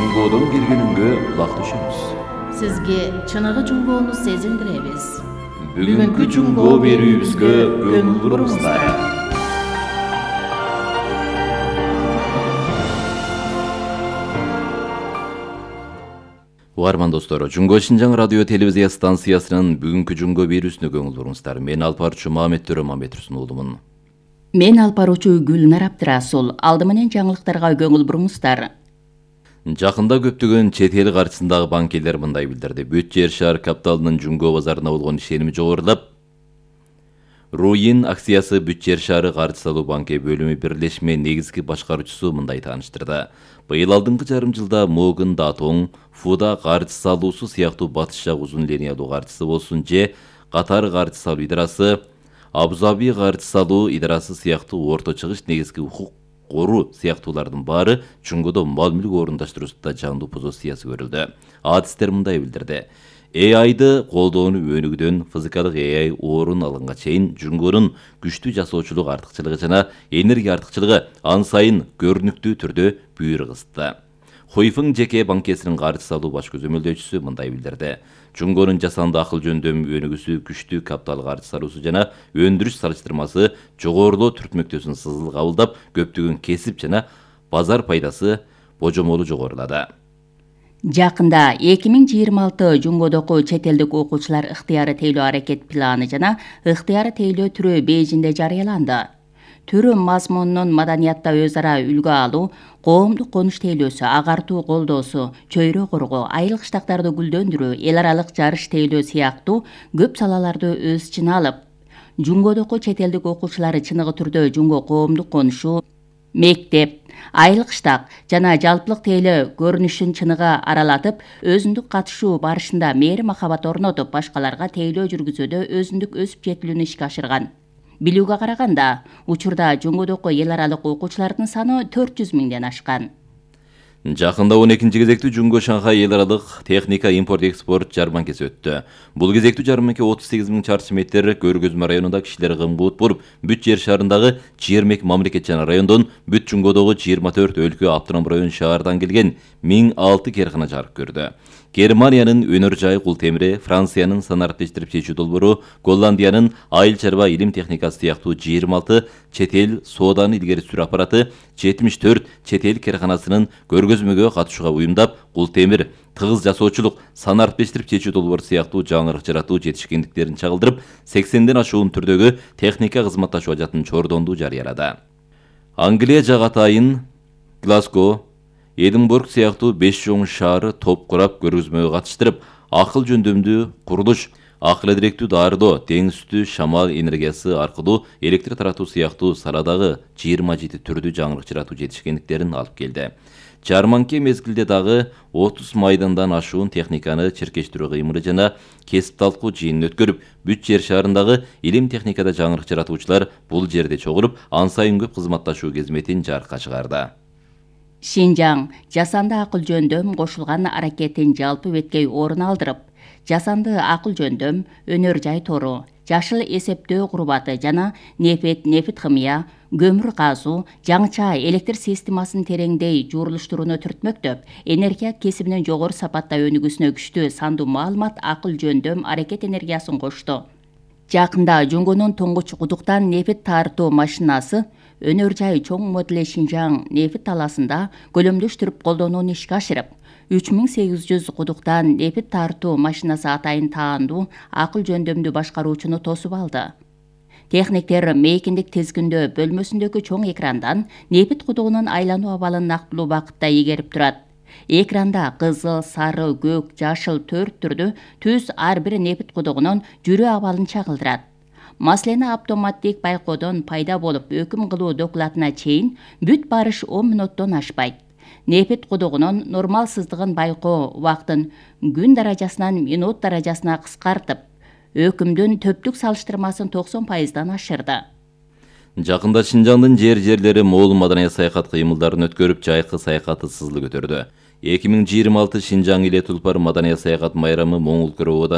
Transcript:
Жунгодон келгениңге кулак түшөбүз. Сизге чыныгы жунгоону сезиндиребиз. Бүгүнкү жунгоо берүүбүзгө көңүл буруңуздар. Угарман достор, Жунго Шинжаң радио телевизия станциясынын бүгүнкү жунгоо берүүсүнө көңүл буруңуздар. Мен алпарчу Мамет Төрөмамбетовдун уулумун. Мен алпаруучу Гүлнар Абдырасул. Алды менен жаңылыктарга көңүл буруңуздар. Жакында көптөгөн чет эл каршысындагы банкирлер мындай билдирди. Бүт жер шаар капиталынын жунгоо базарына болгон ишеними жогорулап, Руин акциясы Бүт жер шаары каржы салуу банки бөлүмү бирлешме негизги башкаруучусу мындай тааныштырды. Быйыл алдыңкы жарым жылда Могын Датоң, Фуда каржы салуусу сыяктуу батыш жак узун линиялуу каржысы болсун же Катар каржы салуу идарасы, Абу-Заби каржы салуу идарасы сыяктуу орто чыгыш негизги укук коруу сыяктуулардын баары жунгодо мал мүлк орундаштыруусунда жандуу позициясы көрүлдү. Адистер мындай билдирди. AI-ды колдоону өнүгүүдөн физикалык AI орун алганга чейин жунгонун күчтүү жасоочулук артыкчылыгы жана энергия артыкчылыгы ан сайын көрүнүктүү түрдө бүйүр кысты. Хуйфың жеке банкесинин каржы салуу баш көзөмөлдөөчүсү мындай билдирди. Жунгонун жасанды акыл жөндөм өнүгүүсү күчтүү капитал каржы салуусу жана өндүрүш салыштырмасы жогорулоо түртмөктөсүн сызыл кабылдап, көптөгөн кесип жана базар пайдасы божомолу жогорулады. Жакында 2026 жунгодоку чет элдик окуучулар ыктыяры тейлөө аракет планы жана ыктыяры тейлөө түрү Бейжиңде жарыяланды. Түрү мазмунунун маданиятта өз ара үлгү алуу, коомдук конуш тейлөөсү, агартуу колдоосу, чөйрө коргоо, айыл кыштактарды гүлдөндүрүү, эл аралык жарыш тейлөө сыяктуу көп салаларды өз ичине алып, жунгодоку чет элдик окуучулар чыныгы түрдө жунго коомдук конушу, мектеп, айыл кыштак жана жалпылык тейлөө көрүнүшүн чыныгы аралатып, өзүндүк катышуу барышында мээри махабат орнотуп, башкаларга тейлөө жүргүзүүдө өзүндүк өсүп жетилүүнү ишке ашырган. Билүүгө караганда, учурда жунгодоку эл аралык окуучулардын саны 400 миңден ашкан. Жакында 12-ci кезектүү Жунго Шанхай эл аралык техника импорт-экспорт жарманкеси өттү. Бул кезектүү жарманке 38 000 чарчы метр Көргөзмө районунда кишилер кымбуут болуп, бүт жер шаарындагы 22 мамлекет жана райондон, бүт Жунгодогу 24 өлкө автоном район шаардан келген 1006 керкана жарык көрдү. Германиянын өнөр жай кул темири, Франциянын санариптештирип чечүү долбоору, Голландиянын айыл чарба илим техникасы сыяктуу 26 чет эл сооданы илгери сүрүү аппараты, 74 чет эл керканасынын көргөзмөгө катышууга уюмдап, кул темир, тыгыз жасоочулук, санариптештирип чечүү долбоору сыяктуу жаңырык жаратуу жетишкендиктерин чагылдырып, 80ден ашуун түрдөгү техника кызматташуу ажатын чордонду жарыялады. Англия жагатайын Глазго, Эдинбург сыяктуу 5 чоң шаары топ курап көргөзмөгө катыштырып, акыл жөндөмдүү курулуш, акыл эдиректүү дарылоо, деңиз үстү шамал энергиясы аркылуу электр таратуу сыяктуу саладагы 27 түрдүү жаңырык жаратуу жетишкендиктерин алып келди. Жарманке мезгилде дагы 30 майдандан ашуун техниканы чиркештирүү кыймылы жана кесип талкуу жыйынын өткөрүп, бүт жер шаарындагы илим техникада жаңырык жаратуучулар бул жерде чогулуп, ан сайын көп кызматташуу кезметин жарыкка чыгарды. Шинжаң жасанды акыл жөндөм кошулган аракеттин жалпы беткей орун алдырып, жасанды акыл жөндөм, өнөр жай тору, жашыл эсептөө курбаты жана нефт химия, көмүр казуу, жаңча электр системасын тереңдей журулуштурууну түртмөктөп, энергия кесибинин жогору сапатта өнүгүүсүнө күчтүү сандуу маалымат акыл жөндөм аракет энергиясын кошту. Жакында Жунгонун туңгуч кудуктан нефт тартуу машинасы өнөр жай чоң модели Шинжаң нефт таласында көлөмдөштүрүп колдонууну ишке ашырып, 3800 кудуктан нефт тартуу машинасы атайын таандуу акыл жөндөмдүү башкаруучуну тосуп алды. Техниктер мейкиндик тизгиндөө бөлмөсүндөгү чоң экрандан нефт кудугунун айлануу абалын нактылуу убакытта ийгерип турат. Экранда кызыл, сары, көк, жашыл 4 түрдүү түз ар бир нефт кудугунун жүрүү абалын чагылдырат. Маселени автоматтик байкоодон пайда болуп өкүм кылуу докладына чейин бүт барыш 10 мүнөттөн ашпайт. Нефт кудугунун нормал сыздыгын байкоо убактын күн даражасынан минут даражасына кыскартып, өкүмдүн төптүк салыштырмасын 90%дан ашырды. Жакында Шинжаңдын жерлери моол маданият саякат кыймылдарын өткөрүп, жайкы саякаты сызылы көтөрдү. 2026 Шинжаң иле Тулпар маданият саякат майрамы Моңгол Кыровоодон